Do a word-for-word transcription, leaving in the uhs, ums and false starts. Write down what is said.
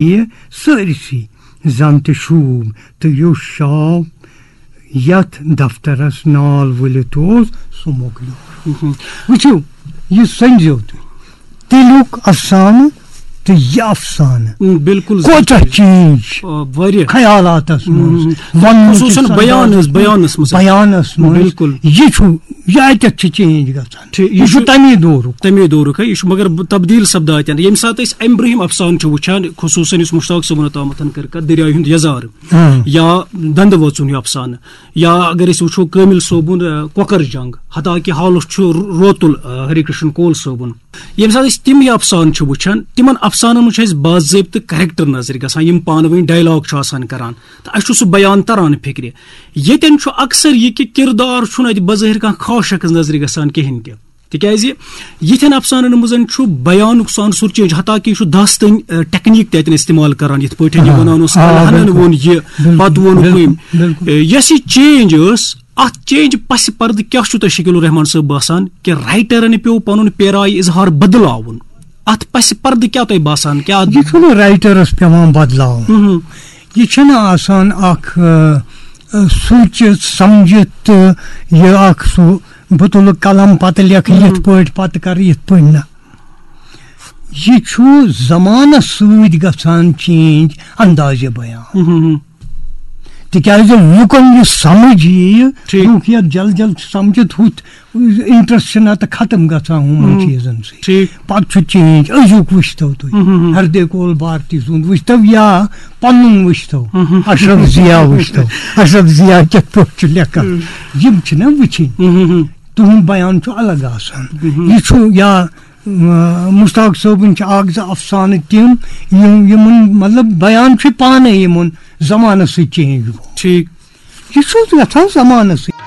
یہِ سٲرسٕے زن تہِ شوٗب تہٕ یُس شاو یتھ دفترس نال ؤلِتھ اوس، سُہ مۄکلیو۔ وٕچھِو، یہِ سٔنزیو تُہۍ، تیٚلیُک افسانہٕ تہٕ یہِ افسانہٕ۔ م، بِلکُل کوتاہ زٕ چینج آ، واریاہ۔ خیالاتس منٛز، م، وننُک خصوٗصاً یُس بیان انداز حظ، چھُ، بیانس منٛز۔ بیانس منٛز بِلکُل۔ یہِ چھُ، یہِ اتٮ۪تھ چھِ چینج گژھان۔ ٹھیٖک، یہِ یہِ چھُ چھُ تمی دورُک۔ تمی دورُک، ہا، یہِ چھُ مگر تبدیٖل سپدان۔ ییٚمہِ ساتہٕ أسۍ امہِ برٛونٛہِم افسانہٕ چھِ وٕچھان، خصوٗصاً یُس مشتاق صٲبُن اوتامتھ کٔر کتھ، دریایہِ ہُنٛد یزارٕ ہاں۔ یا دندٕ وٲژُن ہیوٗ افسانہٕ، یا اگر أسۍ وٕچھو کٲمِل صٲبُن، آ، کۄکر جنگ، حتیٰ کہِ حالُس چھُ رو-، روتُل، آ، ہری کرشن کول صٲبُن۔ ییٚمہِ ساتہٕ أسۍ تِم یہِ افسانہٕ چھِ وٕچھان، تِمن افسانن منٛز چھُ اَسہِ باضٲبطہٕ کریکٹر نظرِ گژھان، یِم پانہٕ ؤنۍ ڈایلاگ چھُ آسان کران۔ تہٕ اَسہِ چھُ سُہ بیان تران فِکرِ۔ ییٚتٮ۪ن چھُ اکثر یہِ کہِ کِردار چھُنہٕ اَتہِ بظٲہِر کانٛہہ خاص شخص نظرِ گژھان کِہینۍ تہِ۔ تِکیازِ یِتھٮ۪ن افسانن منٛز چھُ بیانُک سُہ عنصر چینج، حتیٰ کہِ یہِ چھُ داستٲنۍ، آ، ٹیکنیک تہِ اَتٮ۪ن استعمال کران، یِتھ پٲٹھۍ یہِ آ، وَنان اوس، آ، کلہنن بِلکُل۔ ووٚن یہِ، بِلکُل، پتہٕ ووٚنُکھ بِلکُل، أمۍ۔ بِلکُل۔ آ، یۄس یہِ چینج ٲس، اَتھ چینج پسِ پردٕ کیٛاہ چھُو تۄہہِ شکیل الرحمان صٲب باسان کہِ رائٹرن پیوٚو پنُن پیرایہِ اظہار بدلاوُن؟ اَتھ پسِ پردٕ کیٛاہ تۄہہِ باسان؟ کیٛاہ اَتھ یہِ چھُنہٕ رائٹرس پٮ۪وان بدلاوُن۔ مہم۔ یہِ چھُنہٕ آسان اکھ، آ، آ، سوٗنٛچِتھ سمجھِتھ تہٕ یہِ اکھ سُہ بہٕ تُلہٕ قلم پتہٕ لیکھٕ یِتھ پٲٹھۍ، پتہٕ کرٕ یِتھ پٲٹھۍ، نہ۔ یہِ چھُ زمانس سۭتۍ گژھان چینج اندازِ بیان۔ تِکیازِ لُکن یہِ سمجھ یِیہِ، ٹھیٖک۔ لُکھ یتھ جل جل چھِ سمجھِتھ، ہُتھ انٹرسٹ چھُ نتہٕ ختم گژھان ہُمن چیٖزن سۭتۍ۔ ٹھیٖک۔ پتہٕ چھُ چینج، أزیُک وٕچھتو تُہۍ، ہردے کول بھارتی سُنٛد وٕچھتو یا پنُن وٕچھتو، اشرف ضیا وٕچھتو، اشرف ضیا کِتھ پٲٹھۍ چھُ لیکھان، یِم چھِنہ وٕچھِنۍ۔ تُہُنٛد بیان چھُ الگ آسان۔ یہِ چھُ یا، م-، مشتاق صٲبٕنۍ چھِ اکھ زٕ افسانہٕ تِم، یِم، یِمن، مطلب، بیان چھُ پانے یِمن زمانس سۭتۍ چینج گوٚمُت۔ ٹھیٖک۔ یہِ چھُ گژھان زمانس سۭتۍ۔